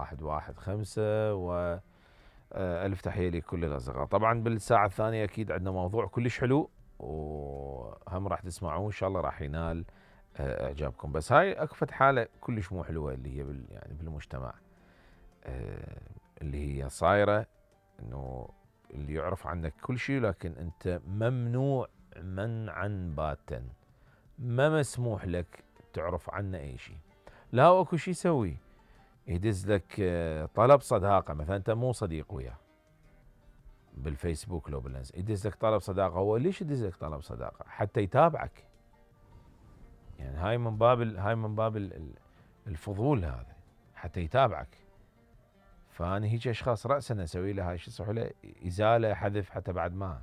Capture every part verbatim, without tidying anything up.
واحد واحد خمسة و ألف تحية لكل الأصدقاء. طبعا بالساعة الثانية أكيد عندنا موضوع كلش حلو وهم راح تسمعوه إن شاء الله راح ينال إعجابكم. بس هاي أكفت حالة كلش مو حلوة اللي هي بال يعني بالمجتمع اللي هي صايرة إنه اللي يعرف عنك كل شيء لكن أنت ممنوع منعا باتا، ما مسموح لك تعرف عنه أي شيء. لا أكو شيء يسوي يدز لك طلب صداقة مثلا أنت مو صديق وياه بالفيسبوك لو بالانس يدز لك طلب صداقة. هو ليش يدز لك طلب صداقة؟ حتى يتابعك. يعني هاي من باب هاي من باب الفضول هذا حتى يتابعك. فأنا هيك أشخاص رأسا أسوي له هاي شو يصح له إزالة حذف حتى بعد ما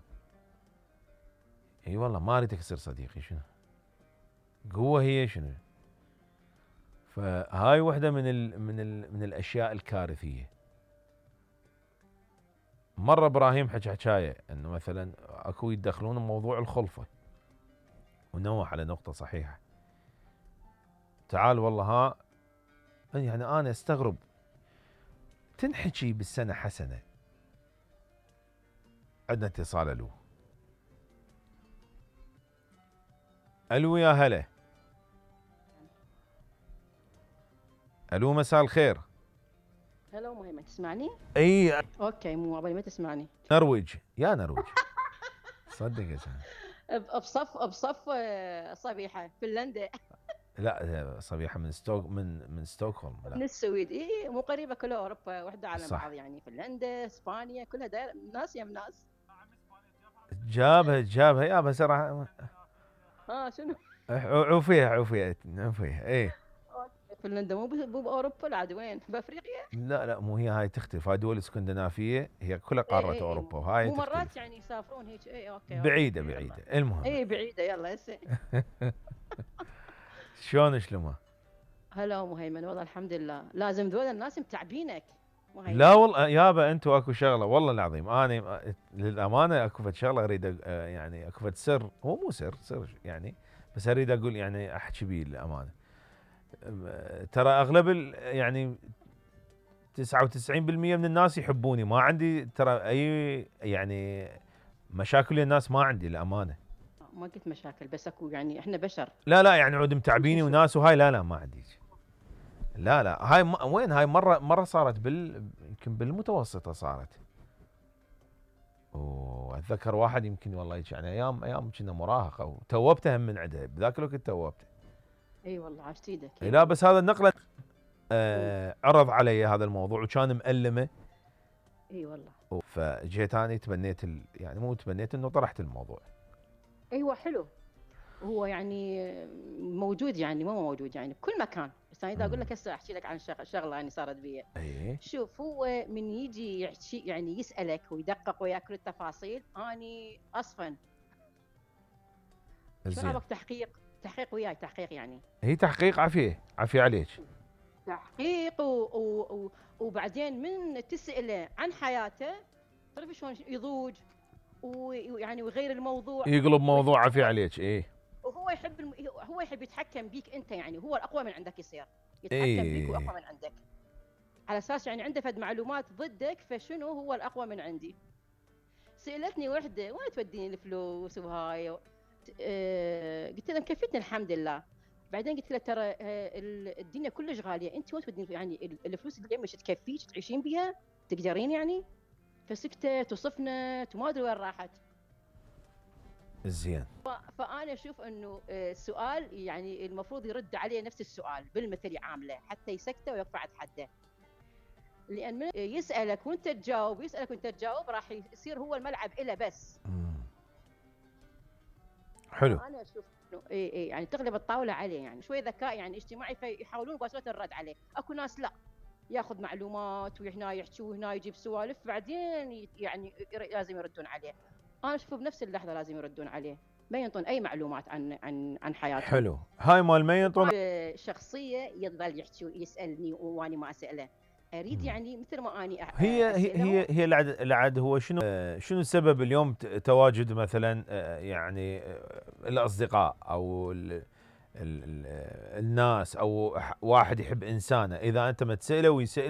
اي والله ما اريدك تصير صديقي. شنو قوة هي شنو؟ فهاي وحدة من ال من ال من الأشياء الكارثية. مرة إبراهيم حكى حكاية إنه مثلا أكو يتدخلون موضوع الخلفة ونوه على نقطة صحيحة. تعال والله ها يعني أنا أستغرب تنحكي بالسنة حسنة. عندنا اتصال. ألو ألو يا هلا. ألو مساء الخير. هلا مهمة تسمعني؟ اي اوكي مو عبالي ما تسمعني. نرويج يا نرويج صدق يا زلمه. بصف بصف صبيحة فنلندا. لا صبيحة من ستوك من من ستوكهولم. من السويد. اي مو قريبة كلها اوروبا وحدة على صح. بعض يعني فنلندا اسبانيا كلها داير ناس يم ناس. جابها جابها يا بس راح ها شنو؟ عوفيها عوفيها عوفيها اي. فنلندا مو مو باوروبا العاد وين؟ بافريقيا؟ لا لا مو هي هاي تختلف. هاي دول اسكندنافيه هي كلها قاره إيه اوروبا إيه وهاي مو تختلف. مرات يعني يسافرون هيك. اي اوكي بعيده أوكي. بعيده. المهم اي بعيده يلا هسه. شلون شلمه؟ هلا مهيمن والله الحمد لله. لازم ذول الناس متعبينك. لا والله يابا انتم اكو شغله والله العظيم انا للامانه اكو فد شغله اريد يعني اكو فد سر. هو مو سر سر يعني بس اريد اقول يعني احكي بيه للامانه. ترى اغلب يعني تسعة وتسعين بالمئة من الناس يحبوني. ما عندي ترى اي يعني مشاكل الناس ما عندي الامانه. ما قلت مشاكل بس اكو يعني احنا بشر. لا لا يعني عود متعبيني وناس وهاي لا لا ما عندي. لا لا هاي م... وين هاي مره مره صارت بال يمكن بالمتوسطه صارت. واتذكر واحد يمكن والله يعني ايام ايام كنا مراهقه وتوبته هم من عندها بذاك الوقت توبته. اي والله عاشت ايدك. لا بس هذا النقله آه عرض علي هذا الموضوع وكان مألمه. اي والله. فجيت انا تبنيت ال... يعني مو تبنيت انه طرحت الموضوع. ايوه حلو. هو يعني موجود يعني مو موجود يعني بكل مكان. بس انا اذا اقول لك هسه احكي لك عن شغله يعني صارت بي. ايه شوف هو من يجي يحكي يعني يسالك ويدقق وياك كل التفاصيل اني اصفن. شو رايك تحقيق تحقيق وياي تحقيق يعني. هي تحقيق عافيه عافيه عليك. تحقيق و... و... و... وبعدين من تساله عن حياته تعرف شلون يضوج ويعني ويغير الموضوع يقلب موضوع عافيه عليك. ايه وهو يحب الم... هو يحب يتحكم بيك انت يعني هو الاقوى من عندك يصير يتحكم إيه. بيك واقوى من عندك على اساس يعني عنده فد معلومات ضدك فشنو هو الاقوى من عندي. سالتني وحده وين توديني الفلوس وهاي أه... قلت لها مكفتني الحمد لله. بعدين قلت له ترى الدنيا كلش غاليه انت وين تودين يعني الفلوس اللي مش تكفيك تعيشين بيها تقدرين يعني. فسكتت وصفنت وما ادري وين راحت. زين. فانا اشوف انه السؤال يعني المفروض يرد عليه نفس السؤال بالمثل يعامله حتى يسكته ويقطع حده. لان من يسالك وانت تجاوب يسالك وانت تجاوب راح يصير هو الملعب إله بس. مم. حلو. انا اشوف انه اي اي يعني تغلب الطاوله عليه يعني شوي ذكاء يعني اجتماعي فيحاولون بواسطه الرد عليه. اكو ناس لا ياخذ معلومات وهنا يحكي وهنا يجيب سوالف بعدين يعني لازم يردون عليه. انا اشوف بنفس اللحظه لازم يردون عليه ما ينطون اي معلومات عن عن عن حياتهم. حلو. هاي مال ما ينطون شخصيه يظل يحكي ويسالني واني ما اساله. اريد يعني مثل ما اني هي هي هي هي العد العد هو شنو شنو السبب اليوم تواجد مثلا يعني الاصدقاء او ال ال ال الناس او واحد يحب انسانه اذا انت ما تساله ويسالك